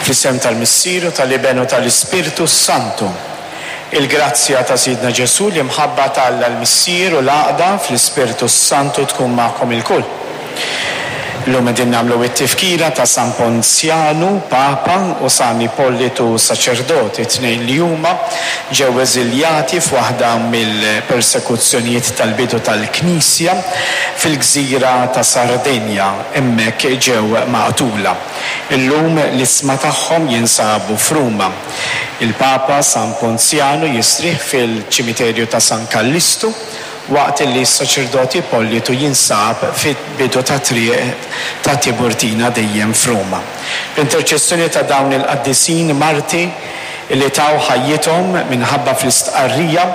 Fl-isem tal-Missier u tal-Iben u tal-Ispirtu s-Santu. Il-grazzja ta' Sidna Ġesù, l-imħabba ta' Alla l-Missier u l-għaqda fl-Ispirtu s-Santu tkun magħkom ilkoll. Illum qegħdin nagħmlu t-tifkira ta' San Ponzjanu, Papa, u San Ippolitu, saċerdot. It-tnejn li huma ġew eżiljati f'waħda mill-persekuzzjonijiet tal-bidu tal-Knisja fil-gżira ta' Sardenja. Hemmhekk ġew maqtula. Illum l-isma tagħhom jinsabu f'Ruma. Il-Papa San Ponzjanu jistrieħ fil-ċimiterju ta' San Kallistu waqt li s-saċerdot Ippolitu jinsab fil-bidu tat-triq ta' Tiburtina dejjem f'Ruma. Bl-interċessjoni ta' dawn il-qaddisin marti li taw ħajjithom minħabba fl-istqarrija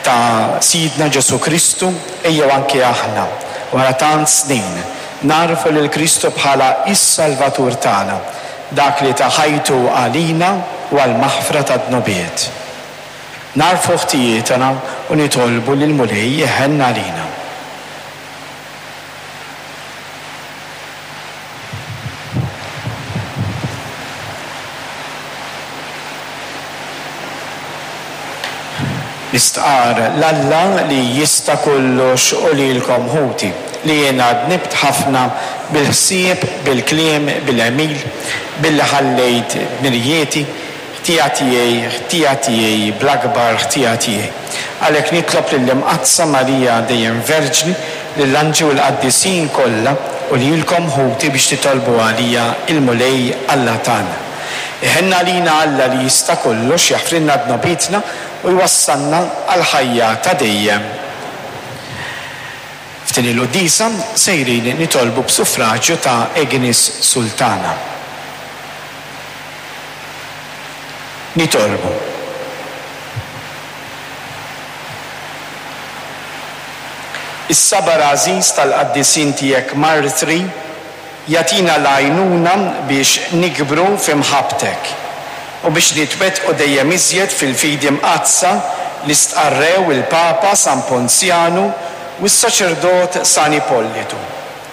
ta' Sidna Ġesù Kristu, ejjew anke aħna, wara tant snin, Nagħrfu lil Kristu bħala s-Salvatur tagħna, dak li ta ħajtu għalina u għall-maħfra tad-dnubiet. Nagħrfu ħtijietna u nitolbu lill-Mulej iħenn għalina. Nistqarr 'l Alla li jista' kollox u lilkom ħuti, li jiena dnibt ħafna bil-ħsieb, bil-kliem, bil-għemil, billi ħallejt dmirijieti, ħtija tiegħi, ħtija tiegħi, bl-akbar ħtija tiegħi. Għalhekk nitlob lill-Imqaddsa Marija dejjem Verġni, lill-anġli u l-qaddisin kollha u lilkom ħuti biex titolbu għalija il-Mulej Alla tagħna. Iħenn għalina Alla li jista' kollox, jaħfrilna dnubietna u jwassalna għall-ħajja ta' dejjem. F'din il-quddiesa sejrin nitolbu b'suffraġju ta' Agnes Sultana. Nitolbu. Is-sabar għażiż tal-qaddisin tiegħek martri jagħtina l-għajnuna biex nikbru fi mħabbtek u biex nitwettqu dejjem iżjed fil-fidi mqaddsa li stqarrew il-Papa San Ponzjanu u s-saċerdot San Ipollitu.